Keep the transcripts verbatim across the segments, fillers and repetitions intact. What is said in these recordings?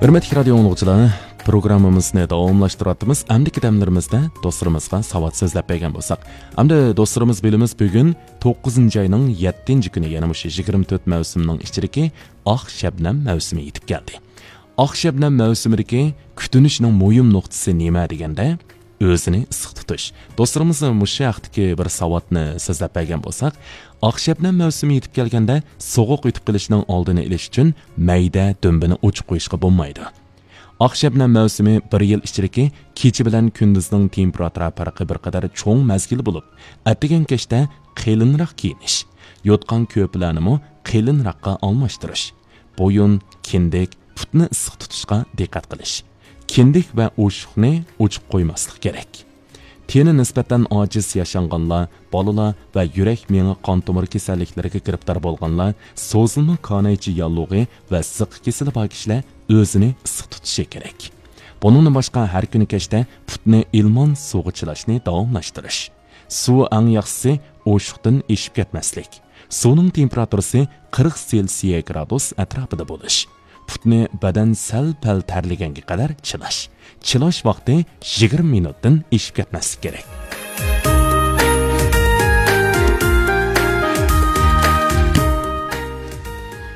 ھۆرمەتلىك رادىيو ئاڭلىغۇچىلار، پروگراممىمىزنى داۋاملاشتۇرۇۋاتىمىز. ئەمدىكى دەملىرىمىزدە دوستلىرىمىزغا ساۋات سۆزلەپ بەرگەن بولساق. ئەمدى دوستلىرىمىز بىلىمىز، بۈگۈن توققۇزىنچى ئاينىڭ يەتتىنچى كۈنى، يەنى مۇشۇ يىگىرمە تۆت مەۋسۇمنىڭ ئىچىدىكى ئاق شەبنەم مەۋسۇمى يېتىپ كەلدى. ئاق شەبنەم مەۋسۇمىدىكى كۈتۈنۈشنىڭ مۇھىم نۇقتىسى نېمە دېگەندە، ئۆزىنى ئىسسىق تۇتۇش. دوستلىرىمىز مۇشۇ ھەقتىكى بىر ساۋاتنى سۆزلەپ بەرگەن بولساق، ئاق شەبنەم مەۋسۇمى يېتىپ كەلگەندە سوغۇق ئۆتۈپ قېلىشنىڭ ئالدىنى ئېلىش ئۈچۈن مەيدە دۈمبىنى ئوچۇق قويۇشقا بولمايدۇ. ئاق شەبنەم مەۋسۇمى بىر يىل ئىچىدىكى كېچە بىلەن كۈندۈزنىڭ تېمپېراتۇرا پەرقى بىر قەدەر چوڭ مەزگىل بولۇپ، ئەتىگەن كەچتە قېلىنراق كىيىنىش، يوتقان-كۆرپىلەرنىمۇ قېلىنراققا ئالماشتۇرۇش، بويۇن، كىندىك، پۇتنى ئىسسىق تۇتۇشقا دىققەت قىلىش. كىندىك ۋە ئوشۇقنى ئوچۇق قويماسلىق كېرەك. تېنى نىسبەتەن ئاجىز ياشانغانلار، بالىلار ۋە يۈرەك، مېڭە، قان تومۇر كېسەللىكلىرىگە گىرىپتار بولغانلار، سوزۇلما كانايچە ياللۇغى ۋە زىققا كېسىلى بار كىشىلەر ئۆزىنى ئىسسىق تۇتۇشى كېرەك. بۇنىڭدىن باشقا، ھەر كۈنى كەچتە پۇتنى ئىلمان سۇغا چىلاشنى داۋاملاشتۇرۇش. سۇ ئەڭ ياخشىسى ئوشۇقتىن ئېشىپ كەتمەسلىك. سۇنىڭ تېمپېراتۇرىسى قىرىق سېلسىيە گرادۇس ئەتراپىدا بولۇش. پۇتنى بەدەن سەل-پەل تەرلىگەنگە قەدەر چىلاش. چىلاش ۋاقتى يىگىرمە مىنۇتتىن ئېشىپ كەتمەسلىك كېرەك.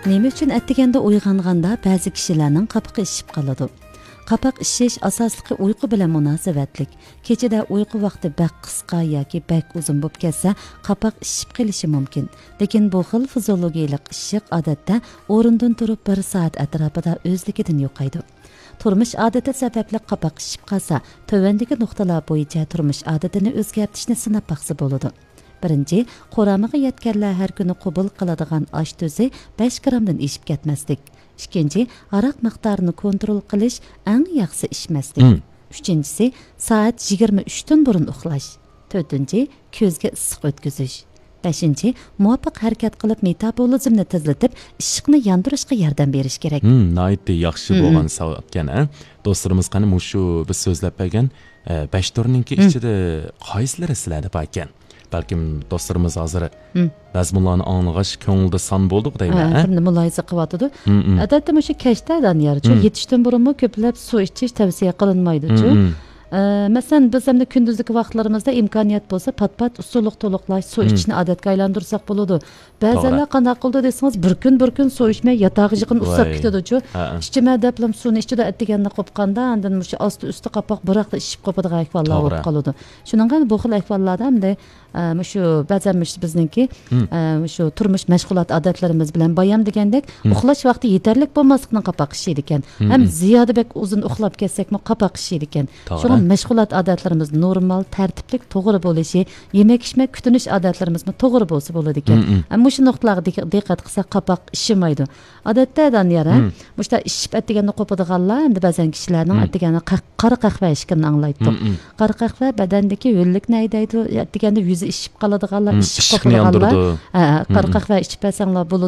نېمە ئۈچۈن ئەتىگەندە ئويغانغاندا بەزى كىشىلەرنىڭ قاپىقى ئىششىپ قالىدۇ؟ قاپاق ئىششىش ئاساسلىقى ئۇيقۇ بىلەن مۇناسىۋەتلىك. كېچىدە ئۇيقۇ ۋاقتى بەك قىسقا ياكى بەك ئۇزۇن بولۇپ كەتسە، قاپاق ئىششىپ قېلىشى مۇمكىن. لېكىن بۇ خىل فىزىئولوگىيەلىك ئىششىق ئادەتتە ئورنىدىن تۇرۇپ بىر سائەت ئەتراپىدا ئۆزلۈكىدىن يوقايدۇ. تۇرمۇش ئادىتى سەۋەبلىك قاپاق ئىششىپ قالسا، تۆۋەندىكى نۇقتىلار بويىچە تۇرمۇش ئادىتىنى ئۆزگەرتىشنى سىناپ باقسا بولىدۇ. بىرىنچى، قۇرامىغا يەتكەنلەر ھەر كۈنى قوبۇل قىلىدىغان ئاش تۈزى بەش گرامدىن ئېشىپ كەتمەسلىك. ئىككىنچى، ھاراق مىقدارىنى كونترول قىلىش، ئەڭ ياخشىسى ئىچمەسلىك. مم. ئۈچىنچىسى، سائەت يىگىرمە ئۈچتىن بۇرۇن ئۇخلاش. تۆتىنچى، كۆزگە ئىسسىق ئۆتكۈزۈش. بەشىنچى، مۇۋاپىق ھەرىكەت قىلىپ، مېتابولىزمنى تېزلىتىپ، ئىششىقنى ياندۇرۇشقا ياردەم بېرىش كېرەك. مم، ناھايىتى ياخشى مم. بولغان ساۋاتكەن، ھە؟ دوستلىرىمىز قېنى مۇشۇ بىز سۆزلەپ بەرگەن، ئە، بەش تۈرنىڭكى مم. ئىچىدە قايسىلىرى سىلەردە باركەن؟ بەلكىم دوستلىرىمىز ھازىر مم. مەزمۇنلارنى ئاڭلىغاچ كۆڭلىدە سان بولدۇق دەيمەن، ھە، ھە؟ بىرنى مۇلاھىزە قىلىۋاتىدۇ. مم، مم. ئادەتتە مۇشۇ كەچتە دانىيارچۇ، مم. يېتىشتىن بۇرۇنمۇ كۆپلەپ سۇ ئىچىش تەۋسىيە قىلىنمايدۇچۇ. مم، مم. ئە، مەسىلەن، بىز ئەمدى كۈندۈزلۈكى ۋاقىتلىرىمىزدا ئىمكانىيەت بولسا، پات-پات ئۇسسۇلۇق تولۇقلاش، سۇ مم. ئىچىشنى ئادەتكە ئايلاندۇرساق بولىدۇ. بەزەنلەر توغرا. قانداق قىلىدۇ دېسىڭىز، بىر كۈن، بىر كۈن سۇ ئىچمەي ياتاقىغا يېقىن ئۇسساپ ۋاي. كېتىدۇچۇ. ھە، ھە. ئىچىمەن دەپلا سۇنى ئىچىدۇ، ئەتىگەندە قوپقاندا، ئاندىن مۇشۇ ئاستى ئۈستى قاپاق بىراقلا ئىششىپ قوپىدىغان ئەھۋاللار توغرا. بولۇپ قالىدۇ. شۇنىڭغا بۇ خىل ئەھۋاللاردا ئەمدى، ئە، مۇشۇ بەزەن مۇشۇ بىزنىڭكى، مم. ئە، مۇشۇ تۇرمۇش مەشغۇلات ئادەتلىرىمىز بىلەن بايام دېگەندەك، مم. ئۇخلاش ۋاقتى يېتەرلىك بولماسلىقنىڭ قاپاق ئىششىيدىكەن. مم، ھەم مم. زىيادە بەك ئۇزۇن ئۇخلاپ كەتسەكمۇ قاپاق ئىششىيدىكەن. توغرا. شۇڭا مەشغۇلات ئادەتلىرىمىز نورمال، تەرتىپلىك، توغرا بولۇشى، يېمەك-ئىچمەك، كۈتۈنۈش ئادەتلىرىمىزمۇ توغرا بولسا بولىدىكەن. مم، مم. ئە، مۇشۇ نۇقتىلارغا دىق-، دىققەت قىلساق، قاپاق ئىششىمايدۇ. ئادەتتە دانىيار، ھە؟ مم. مۇشۇنداق ئىششىپ ئەتىگەندە قوپىدىغانلار، ئەمدى بەزەن كىشىلەرنىڭ مم. ئەتىگەندە قەھ-، قارا قەھۋە ئىچكىنىنى ئاڭلايتتۇق. مم، مم. قارا قەھۋە بەدەندىكى ھۆللۈكنى ھەيدەيدۇ، ئەتىگەندە يۈزى ئىششىپ قالىدىغانلار، مم، ئىششىق ئىششىقنى قوپىدىغانلار. ياندۇرىدۇ. ھە، قارا مم، مم. قەھۋە ئىچىپ بەرسەڭلار بولىدۇ